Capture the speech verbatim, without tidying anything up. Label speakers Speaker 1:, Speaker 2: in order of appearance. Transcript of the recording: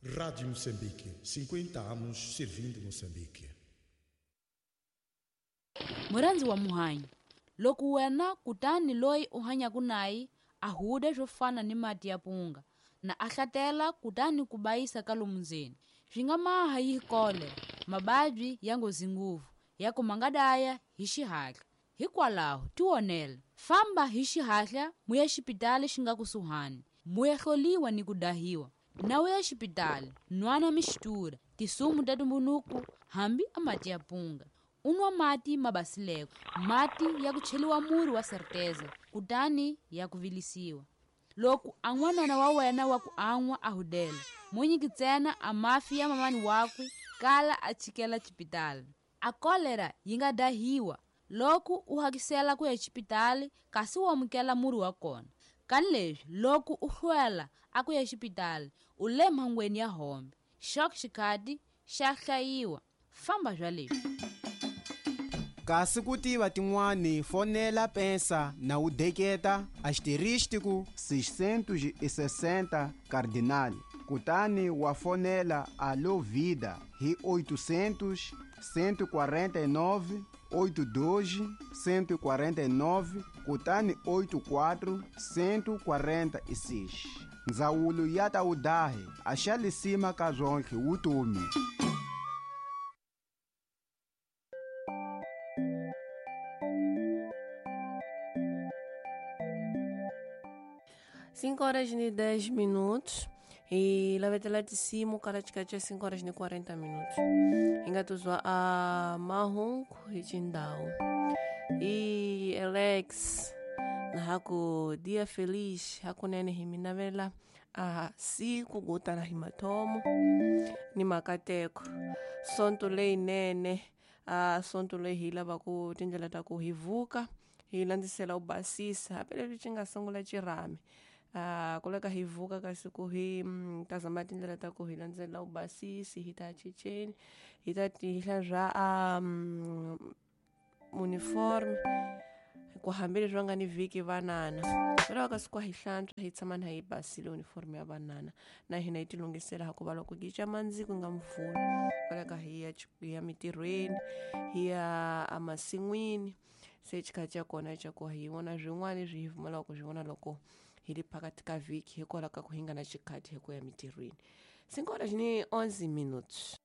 Speaker 1: Rádio Moçambique, cinquenta anos servindo Moçambique.
Speaker 2: Murhandzi wa muhanyi, loko wena kutani loyi u hanyaka naye a huda swo fana ni mati ya punga na a hlatela kutani ku bayisa ka lomu ndzeni, swi nga maha yi kolera, mavabyi ya nghozi ngopfu ya ku ma nga daya hi xihatla. Hikwalaho tionela, famba hi xihatla muya xipitali xi nga kusuhani, muya hloliwa ni ku dahiwa. Na u ya xipitali, nwana mixtura, tisumu ta tumbunuku hambi a mati ya punga. U nwa mati ma basileko, mati ya ku cheliwa murhi wa Certeza kutani ya ku vilisiwa. Loko a n'wanana wa wena wa ku an'wa a hudela, mo nyiki ntsena a mafi ya mamani wakwe kala a chikela xipitali. A kolera yi nga dahiwa loko u hakisela ku ya xipitali kasi u amukela murhi wa kona. Kani leswi loko u hlwela a ku ya xipitali u le mhangweni ya hombe. Xok xikhati xa hlayiwa. Famba bya leswi.
Speaker 3: Kasi ku tiva tin'wani fonela pensa na u deketa asterístico
Speaker 4: seiscentos e sessenta cardinal, kutani wa fonela Alô Vida hi oitocentos, cento e quarenta e nove, oito dois, cento e quarenta e nove, kutani oito quatro, cento e quarenta e seis. Ndzawulo ya ta udahe a xa lisima ka zwonke wutomi.
Speaker 5: Cinco horas e dez minutos e lá vai ter lá de cima o cara de cá cinco horas e quarenta minutos. Engatuzwa a Mahungu e Jindao e Alex na haku dia feliz haku nene himinavela a siku guta na himatomo ni makateko sonto lei nene a sonto lei hila baku tindlela ta ku hivuka hi landzisela u basisa hambileswi xi nga sungula xirhami a ku leka hi vuka kasi ku hi ta zama tindlela ta ku hi landzela u basisi hi ta chicheni hi ta tihla swa a uniform ku hambileswi va nga ni vhiki vanana vela kasi ku hi hlantswa hi tshama na hi basile uniform ya vanana na hina hi tilunghisela hikuva loko gica mandzi ku nga mvula kwalaka hi ya hi ya mitirhweni hi ya emasin'wini se xikhathi xa kona xa ku hi vona swin'wana leswi hi pfumelaka ku swi vona loko hi ri phakathi ka vhiki hikwalaho ka ku hi nga na xikhathi hi ku ya mitirhweni cinco horas ni onze minutos.